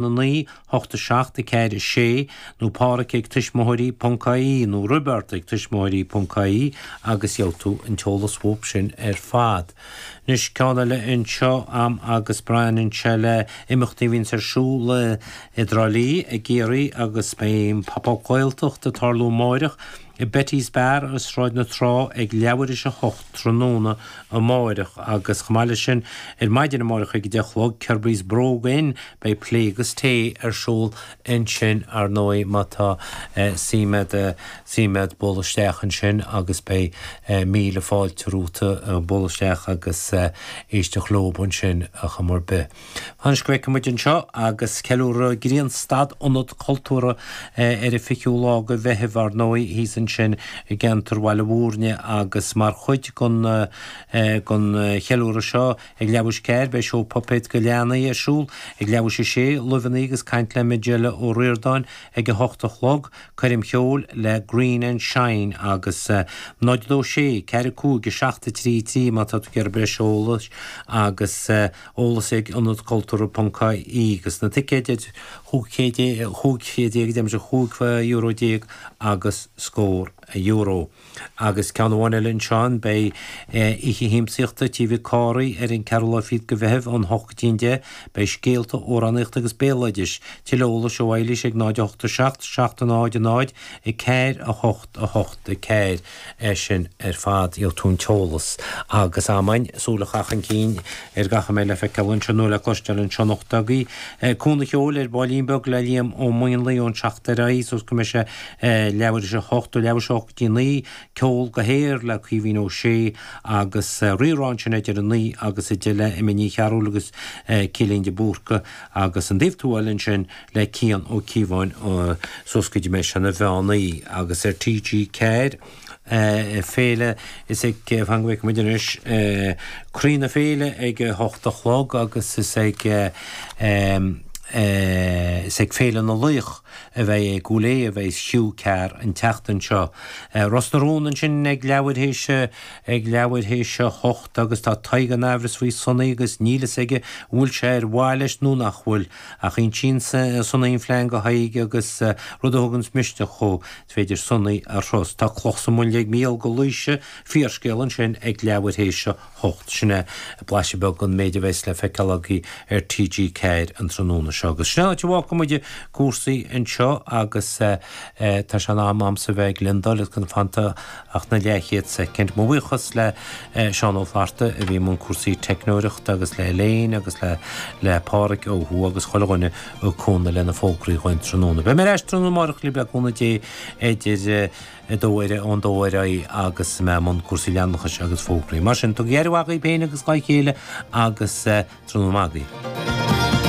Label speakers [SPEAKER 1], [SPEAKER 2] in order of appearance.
[SPEAKER 1] 9, 8, 7, 4, 6, nó Pádhraic ag tuismitheoirí ponc ie nó Roibeárd ag tuismitheoirí ponc ie agus gheobhaidh tú an t-eolas uathu sin ar fad. Anois ceann eile anseo a'm agus baineann sé le imeachtaí a bhíonns ar siúl i dTrá Lí i gCiarraí agus beidh an Pop Up Gaeltacht ag tarlú amáireach i Betty's Bar i Sráid na Trá ag leathuair théis a 8 tráthnóna amáireach agus chomh maith leis sin ar maidin amáireach ag 10 a chlog Kirby's Brogue Inn beidh plé agus tae ar siúl ansin ar ndóigh má tá suim a'd suim a'd bualadh isteach ansin agus beidh míle fáilte romhat bualadh isteach agus éisteacht leob ansin ar chuma ar bith. Anois go bhfeicfidh muid anseo agus ceiliúradh Grianstad Ionad Cultúrtha ar an 20ú lá de Mheitheamh ar ndóigh thíos ansin i gceantar Bhaile Mhúirne agus mar chuid den den cheiliúradh seo ag leathuair théis 4 beidh seó puipéad do leanaí ar siúl ag leathuair théis 6, Luibheanna agus caint le Majella Ó Ríordáin ag 8 a chlog, coirm cheoil le Green and Shine agus 0 2 6 4 5 7 3 3 má tá tú ag iarraidh breis eolais agus. Eolas ag Ionad Cultúrtha ponc ie agus na ticéid idir 15 chéad deirimse 15 euro agus scór euro. Agus ceann amháin eile anseo beidh oíche shiamsaíochta Tí Mhic Cárthaigh ar an ceathrú lá fichead de Mheitheamh ón 8 go dtí an 10. Beidh scéalta, amhránaíocht agus béaloidis. Tuilleadh eolais ó Eilís ag 0 8 7 7 0 0 4 8 8 4. É sin ar fad, gheobhaidh tú an t-eolas agus amann súil a chaitheamh chun cinn ar gach a mbeidh le feiceáil anseo nó le cloisteáil anseo anocht agaibh. Cúnamh Cheoil ar Baillín Beag le Liam Ó Maonlaí ón 7 ar aghaidh suas go mbeidh sé leathuair théis a hocht, ó leathuair théis a hocht go dtí a naoi, Ceol go hAer le Caoimhín Ó Sé agus Rí-Rá ansin idir a naoi agus a deich le Emma Ní Chearúil agus Céilín de Búrca agus an Taobh Tuathail ansin le Cian Ó Cíobháin suas go dtí mbeidh sé ina mheán oíche agus ar TG4 Féile is ag fan go bhfeicfidh muid anois Croí na Féile ag a hocht a chlog agus is ag is ag Féile na Laoch a bheidh i gCúil Aodha a bheidh Hugh Carr an tseachtain seo. Ros na Rún ansin ag leathuair théis ag leathuair théis a hocht agus tá Tadhg in aimhreas faoi Sonaí agus níl fhios aige an bhfuil sé ar mhaith leis nó nach bhfuil. Ach insíonn Sonaí an phlean do Thadhg agus rud a thuganns misneach dhó, is féidir Sonaí a thrust. Tá cloch sa mbuinle ag Mícheál go Laoise, fíorscéal ansin ag leathuair théis a hocht. Sin é blaiseadh beag den méid a bheas le feiceáil agaibh ar TG4 an tráthnóna seo. Agus sin an áit a bhfágfaidh muid cúrsaí anseo agus tá sé in am a'msa bheith ag leaindeáil agus gan fanta ach na leathchéad soicind. Mo bhuíochas le Seán Ó Flatharta a bhí i mbun cúrsaí teicneoireachta agus le Elaine agus le le Pádhraic ó thuaidh agus chuile dhuine ag cúnamh le na fógraí dhúinn tráthnóna. Beidh mé ar ais tráthnóna amárach libh le cúnamh Dé idir a dó ar ón dó ar aghaidh agus mé i mbun cúrsaí leanúnachais agus fógraí. Mar sin, tugaigí aire mhaith dhaoibh féin agus dhá chéile agus tráthnóna maith agaibh.